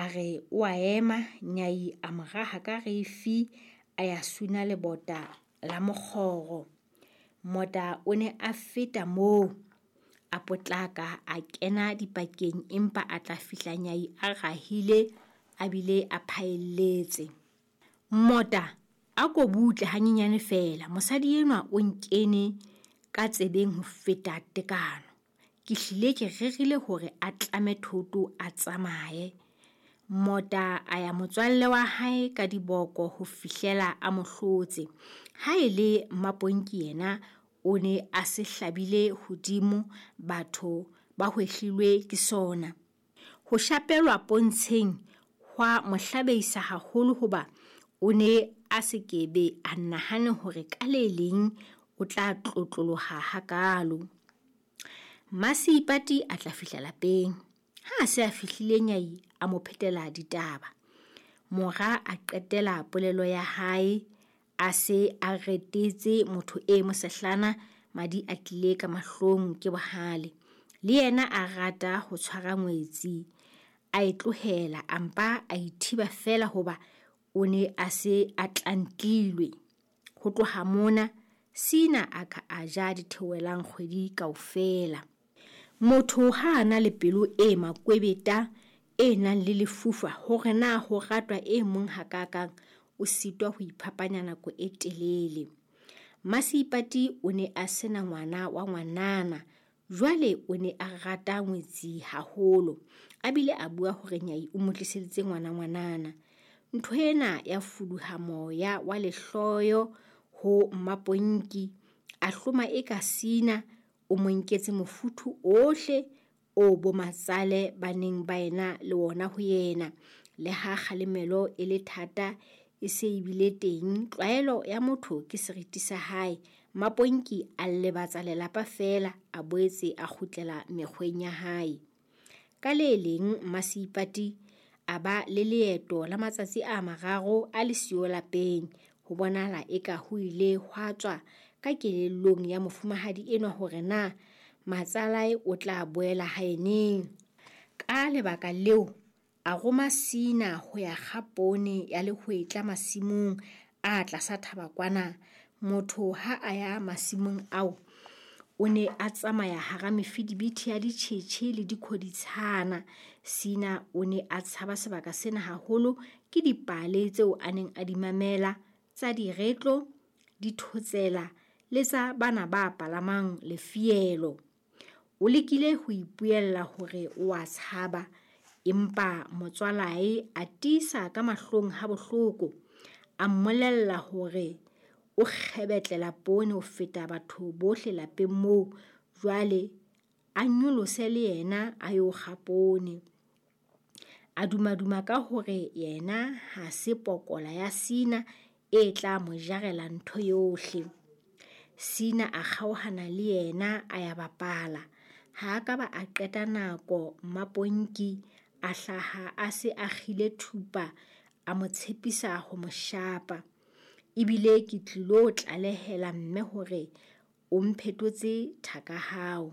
A re o a ema, Nyai a mo raha ka rifi a ya suna lebota la mokgoro. Mota o ne a feta moo, a potlaka a kena dipakeng empa a tla fihla Nyai a rahile a bile a phaelletse. Mota, a ko butle hanyenyane feela, mosadi enwa o nkene ka tsebeng ho feta tekano. Ke hlile ke rerile hore a tlame thoto a tsamaye. Mota a ya motswalle wa hae ka diboko ho fihlela a mo hlotse. Ha e le Mmaponki yena o ne a se hlabile hodimo batho ba hwehlilwe ke sona. Ho shapelwa pontsheng hwa mo hlabeisa haholo hoba o ne a se ke be a nahane hore ka le leng o tla tlotloloha hakaalo. Mmaseipati a tla fihla lapeng. Ha a se a fihlile Nyai a mo phetela ditaba. Mora a qetela polelo ya hae a se a retetse motho e mosehlana madi a tlile ka mahlong ke bohale. Le yena a rata ho tshwara ngwetsi, a e tlohela a mpa a ithiba feela hoba o ne a se a tlantlilwe. Ho tloha mona, Sina a ka a ja ditheohelang kgwedi kaofela. Motho ha a na le pelo e makwebeta e nang le lefufa hore na ho ratwa e mong hakaakang, o sitwa ho iphapanya nako e telele. Mmaseipati o ne a se na ngwana wa ngwanana, jwale o ne a rata ngwetsi haholo, a bile a bua hore Nyai o mo tliseditse ngwana ngwanana. Ntho ena ya fuduha moya wa lehloyo ho Mmaponki, a hloma eka Sina o mo nketse mofuthu ohle oo bomatsale ba neng ba ena le wona ho yena. Le ha kgalemelo e le thata e se e bile teng, tlwaelo ya motho ke seriti sa hae. Mmaponki a lebatsa lelapa feela, a boetse a kgutlela mekgweng ya hae. Ka le leng Mmaseipati a ba le leeto la matsatsi a mararo a le siyo lapeng. Ho bonahala eka ho ile hwa tswa ka kelellong ya mofumahadi enwa hore na matsalae o tla boela hae neng. Ka lebaka leo, a roma Sina ho ya kga poone ya lehwetla masimong a tlasa thaba kwana. Motho ha a ya masimong ao, o ne a tsamaya hara mefidibiti ya ditjhetjhe le dikhoditshana. Sina o ne a tshaba sebaka sena haholo ke dipale tseo a neng a di mamela tsa diretlo, dithotsela le tsa bana ba palamang lefielo. O lekile ho ipuella hore o a tshaba, empa motswalae a tiisa ka mahlong ha bohloko. A mmolella hore o kgebetlela poone ho feta batho bohle lapeng moo, jwale a nyolose le yena a yo kga poone. A dumaduma ka hore yena ha se pokola ya Sina e tla mo jarela ntho yohle. Sina a kgaohana le yena a ya bapala. Ha a ka ba a qeta nako Mmaponki a hlaha a se a kgile thupa a mo tshepisa ho mo shapa. Ebile ke tlilo tlalehela mme hore o mphetotse thaka hao.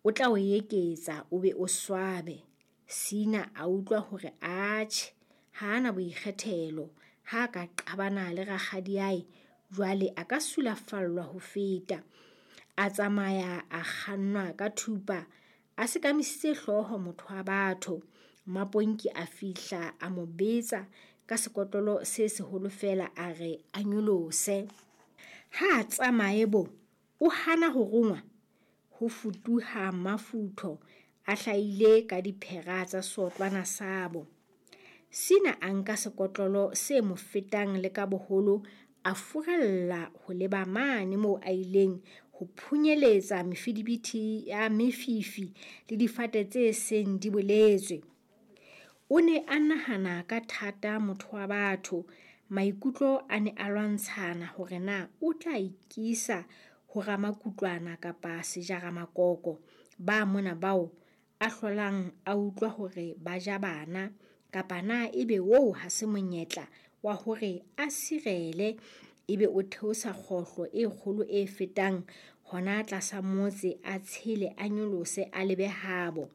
O tla o eketsa o be o swabe. Sina a utlwa hore atjhe, ha a na boikgethelo. Ha a ka qabana le rakgadiae, jwale a ka sulafallwa ho feta. A tsamaya a kgannwa ka thupa, a sekamisitse hlooho motho wa batho. Mmaponki a fihla a mo betsa ka sekotlolo se seholo feela a re a nyolose. Ha a tsamaye bo, o hana ho rongwa. Ho futuha Mmafutho a hlahile ka diphera tsa seotlwana sabo. Sina a nka sekotlolo se mo fetang le ka boholo, a furalla ho leba mane moo a ileng ho phunyeletsa mefidibiti ya mefifi le difate tse seng di boletswe. O ne a nahana ka thata motho wa batho, maikutlo a ne a lwantshana hore na o tla ikisa ho ramakutlwana kapa sejaramakoko ba mona bao a hlolang a utlwa hore ba ja bana, kapa na ebe oo ha se monyetla wa hore a sirele ebe o theosa kgohlo e kgolo e fetang hona tlasa motse a tshele a nyolose a lebe habo.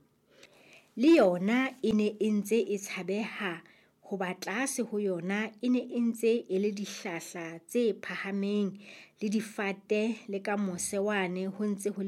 Le yona e ne e ntse e tshabeha hoba tlase ho yona e ne e ntse e le dihlahla tse phahameng le difate le ka mose wane ho ntse ho le.